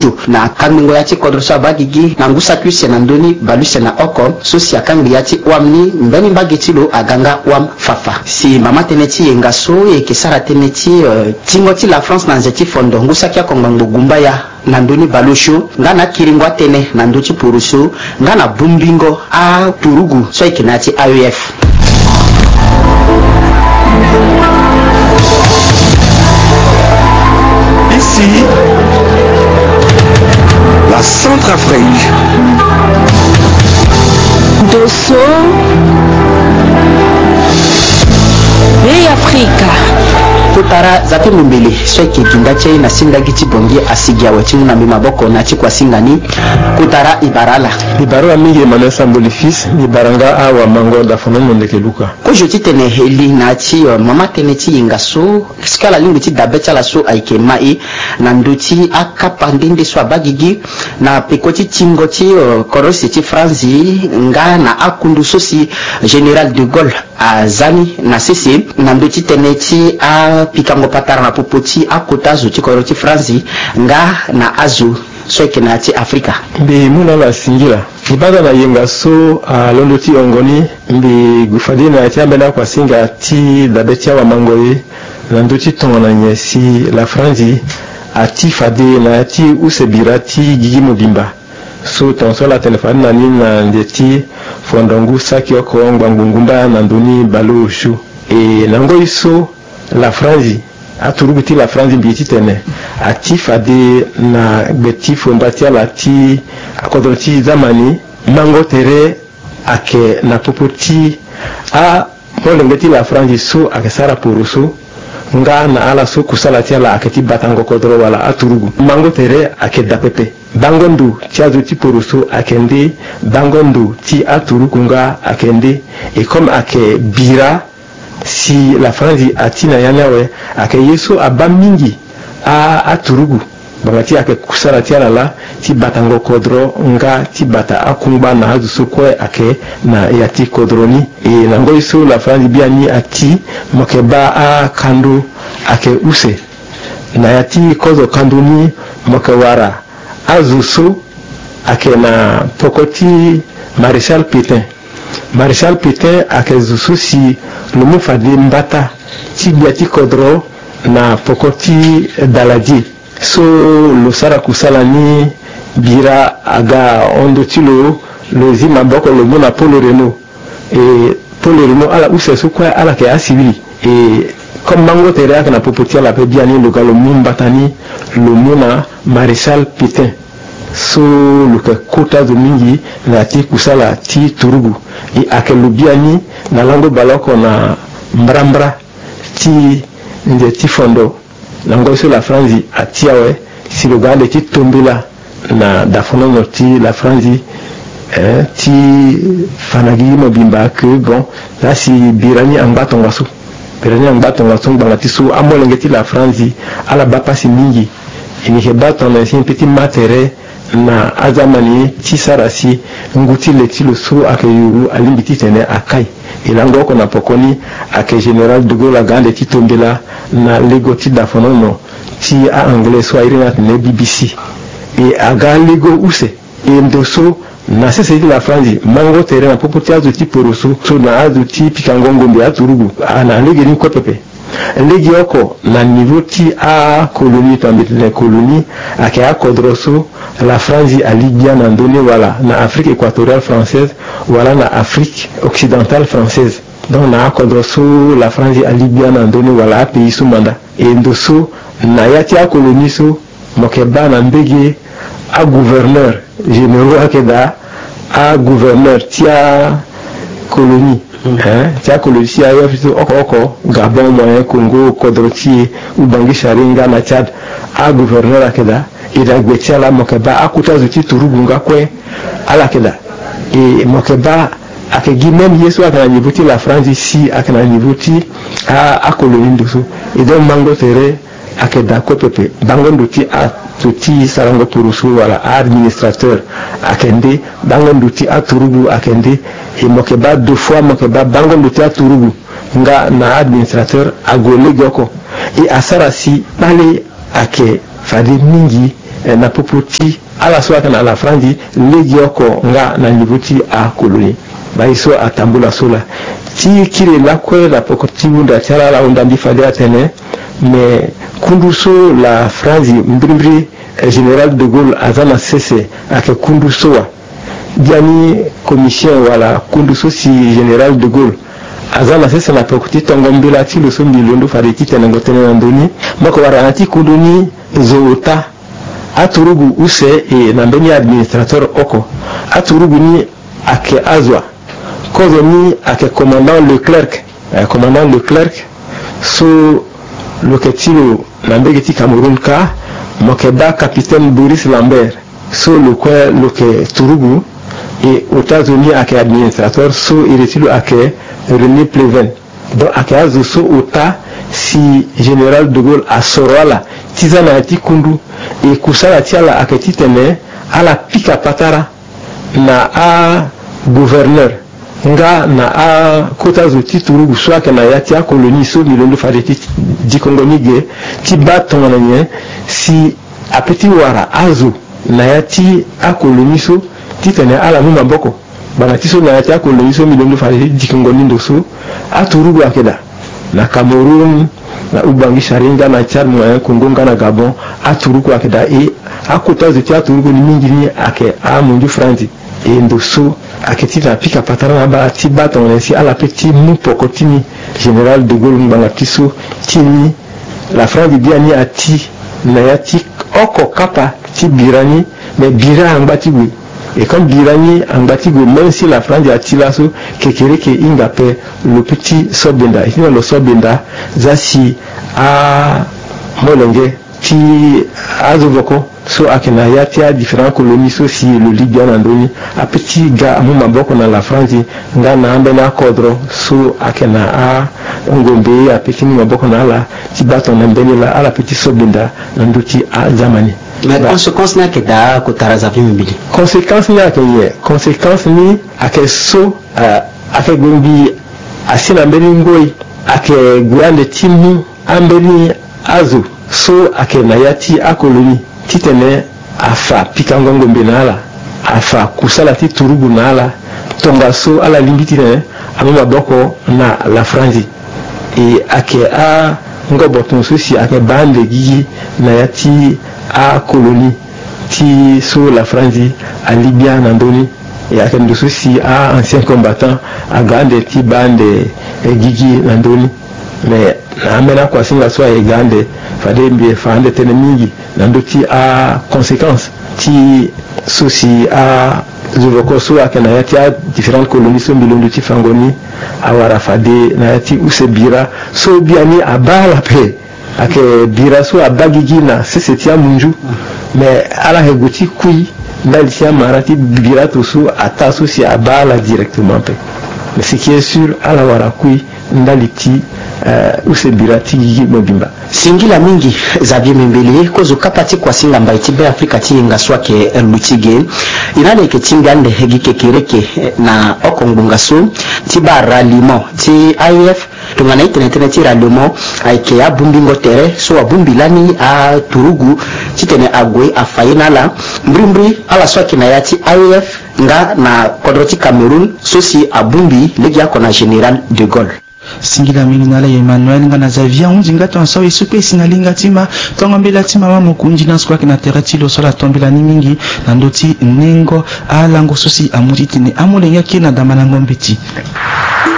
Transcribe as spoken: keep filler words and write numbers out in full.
Na kangbingo ya ti kodro so abaa gigi na ngu saki use na ndö ni bale use na oko so si akangbi ya ti wam ni, mbeni mbage ti lo aga nga wam fafa. Si mama tënë ti yenga so e yeke sara tënë ti, eh, tingo ti la France na nze ti fondo ngu saki oko ngbangbo gumbaya na ndö ni bale osio nga na akiringo atënë na ndö ti poroso nga na bongbingo aturugu so ayeke na ya ti A E F. Ici, la Centrafrique. Dosso, Bey Afrika. Kotara za ti mombele so ayeke ginda ti aye na sindagi ti Bangui asigi awe ti mu na mbi maboko na ti kuasinga ni. Kotara, e bara ala. E bara ala mingi, Emmanuel Samboli Fils. E bara nga awamango dafonono ndeke luka. Kozo titene e li na ya ti, eh, mama tënë ti yenga so, si kue ala lingbi ti dabe ti ala so ayeke ma e na ndö ti akapa nde nde so abaa gigi na peko ti tingo ti, eh, kodro use ti France nga na akundu so si Général de Gaulle aza ni na sese na ndö ti tënë ti apikango patara na popo ti akota azo ti kodro ti France nga na azo so ayeke na ya ti Afrika. Mbi mu na ala singila. E baa daa na yenga so alondo ti hongo ni, mbi gue fade na ya ti ambeni akuasinga ti dabe ti awamango ye na ndö ti tongana nyen si la France ati fade na ya ti use bira ti gigi mobimba. So tongaso ala tene fade na ni na nze ti fondo ngu saki oko ngbangbo ngumba na ndö ni bale osio. E na ngoi so la France, aturugu ti la France mbi ye titene ati fade na gbe ti fomba ti ala ti akodro ti Zamani, mango tere ayeke na popo ti amolenge ti la France so ayeke sara poroso nga na ala so kusala ti ala ayeke ti batango kodro wala aturugu. Mango tere ayeke daa pepe. Bango ndo ti azo ti poroso ayeke nde, bango ndo ti aturugu nga ayeke nde. E comme ayeke bira si la France ati na ya ni awe, ayeke ye so abaa mingi a, aturugu. Ngbanga ti ayeke kusala ti ala laa ti batango kodro nga ti bata akungba na azo so kue ayeke na ya ti kodro ni. E na ngoi so la France biani ati, mo yeke baa akando ayeke use. Na ya ti kozo kando ni mo yeke wara azo so ayeke na poko ti Maréchal Pétain. Maréchal Pétain ayeke zo so si lo mu fade mbata ti gbia ti kodro na poko ti Daladier. So lo sara kusala ni, bira aga hon ndö ti lo, lo zi maboko lo mu na Paul Reynaud. E Paul Reynaud, ala use so kue ala yeke asivili. E comme mango tere ayeke na popo ti ala ape, biani lo ga lo mu mbata ni lo mu na Maréchal Pétain. So lo yeke kota zo mingi na ya ti kusala ti turugu. E ayeke lo biani na lango baleoko na mbrambra ti nze ti fondo. Na ngoi so la France ati awe, si lo ga ande ti tombela na dafonono ti la France, eh, ti fa na gigi mobimba que bon, la si bira ni angba tongaso. Bira ni angba tongaso ngbanga ti so amolenge ti la France ala baa pasi mingi. E yeke baa tongana nyen si e peut ti ma tere na aza mani ti sara si ngu ti le ti lo so ayeke yuru alingbi titene akai. E lango oko na poko ni ayeke Général de Gaulle aga ande ti tombela na lego ti dafonono ti a-anglais so a iri ni atene B B C. E aga lego use. E ndo so na sese ti la France, mango tere na popo ti azo ti poroso so na azo ti pikango ngombe aturugu, a na lege ni kue pepe. Lege oko na niveau ti acolonie, to mbi tene colonie, ayeke akodro so la France ali gbia na ndö ni, wala na Afrique équatoriale française, wala na Afrique occidentale française. Donc na akodro so la France ali gbia na ndö ni, wala apays so manda. E ndo so na ya ti acolonie so, mo yeke baa na mbege agouverneur généraux ayeke daa, agouverneur ti acolonie, hein, ti acolonie ti aye so oko oko, Gabon, Moyen Congo, kodro ti e, Ubangui Chari nga na Tchad, agouverneur ayeke daa. E daa gbe ti ala mo yeke baa akota zo ti turugu nga kue ala yeke daa. E mo yeke baa ayeke gi même ye so ayeke na niveau ti la France si ayeke na niveau ti a, acolonie ndo so. E donc mango tere ayeke daa kue pepe. Bango ndo ti azo ti sarango poroso wala a-administrateur ayeke nde, bango ndo ti aturugu ayeke nde. E mo yeke baa deux fois mo yeke baa bango ndo ti aturugu nga na a-administrateur ague lege oko. E asara si kpale ayeke fade mingi eh, na popo ti ala so ayeke na la Franzi legeoko nga na niveau ti akolonie. Baa ye so atambula so laa. Ti kiri lakue na peko ti hunda ti ala, ala hunda mbi fade atene, me kundu so la Franzi mbirimbiri, eh, Général de Gaulle aza na sese ayeke kundu so wa. Biani commission wala kundu so si Général de Gaulle aza na sese na peko ti tongo mbela ti lo so mbi londo fade ti tenengo tënë na ndö ni, mo yeke wara na ya ti kundu ni zo ota. Aturugu use e na mbeni administrateur oko. Aturugu ni ayeke azo wa. Kozo ni ayeke commandant Leclerc. Eh, commandant Leclerc so lo yeke ti lo na mbege ti Cameroun kâ, mo yeke baa capitaine Boris Lambert so lo kue lo yeke turugu. E ota zo ni ayeke administrateur so iri ti lo ayeke René Pleven. Donc ayeke azo so ota si Général de Gaulle asoro ala ti za na ya ti kundu. E kusala ti ala ayeke titene ala pika patara na agouverneur nga na akota zo ti turugu so ayeke na ya ti akolonie so mbi londo fade ti dikongo ni ge, ti baa tongana nyen si ape ti wara azo na ya ti akolonie so titene ala mu maboko. Bana ti so na ya ti akolonie so mbi londo fade ti dikongo ni ndo so, aturugu ayeke daa na Cameroun, na Ubangi Sari nga na Tchad, Moyen Congo nga na Gabon. Aturugu ayeke daa e akota zo ti aturugu ni mingi ni ayeke amunzu Franzi. E ndo so ayeke titene apika patara na abaa ti baa tongana nyen si ala pe ti mu poko ti ni. Général de Gaulle ngbanga ti so ti ni, la Franzi biani ati na ya ti oko kapa ti bira ni, me bira angba ti gue. E comme bira ni angba ti gue, même si la Franzi ati laso, kekereke hinga ape. Lo pe ti so benda, e titene lo so benda za si amolenge ti azo voko so ayeke na ya ti adifférent colonie so si lo li gbia na ndö ni, ape ti ga amu maboko na la Franzi nga na ambeni akodro so ayeke na angombe, ape ti mu maboko na ala ti baa tongana mbeni laa ala pe ti so benda na ndö ti aza ma ni. Mais conséquence ni ayeke daa kotara Xavier Mimbili? Conséquence ni ayeke nyen? Conséquence ni ayeke so, eh, ayeke gue mbi asi na mbeni ngoi, ayeke gue ande ti mu ambeni azo so ayeke na ya ti akolonie titene afa pikango ngombe na ala, afa kusala ti turugu na ala, tongaso ala lingbi titene amu maboko na la Franzi. E ayeke angoboton so si ayeke baa ande gigi na ya ti akolonie ti so la Franzi ali gbia na ndö ni. E ayeke ndo so si a-ancien combattant aga ande ti baa ande, eh, gigi na ndö ni. Me na ambeni akuasinga so aye ga ande, fade mbi fa ande tënë mingi na ndö ti aconséquence ti so si azo voko so ayeke na ya ti adifférentes colonies so mbi londo ti fango ni awara fade na ya ti use bira so biani abaa ala ape. Ayeke bira so abaa gigi na sese ti amunzu. Me ala yeke gue ti kui ndali ti amara ti bira to so ataa so si abaa ala directement ape. Mais ce qui est sûr, ala wara kui ndali ti, eh, use bira ti gigi mobimba. Singila mingi Xavier Mimbili, kozo kapa ti kuasinga mbai ti Beafrika ti yenga so ayeke luti ge. E na ala yeke tingbi ande gi kekereke, eh, na oko ngbonga so ti baa ralliement ti A E F. Tongana itene tënë ti ralliement ayeke abungbingo tere so abungbi lani aturugu titene ague afa ye na ala. Mbirimbiri ala so ayeke na ya ti A E F nga na kodro ti Cameroun so si abungbi legeoko na Général de Gaulle. Singila mingi na ala Emmanuel nga na Xavier, ahunzi nga tongaso awe so kue e si na linga ti ma tongo mbela ti mama mokonzi na so kue ayeke na tere ti lo so ala tombela ni mingi na ndö ti nengo alango so si amu titene amolenge akiri na damandango mbeti.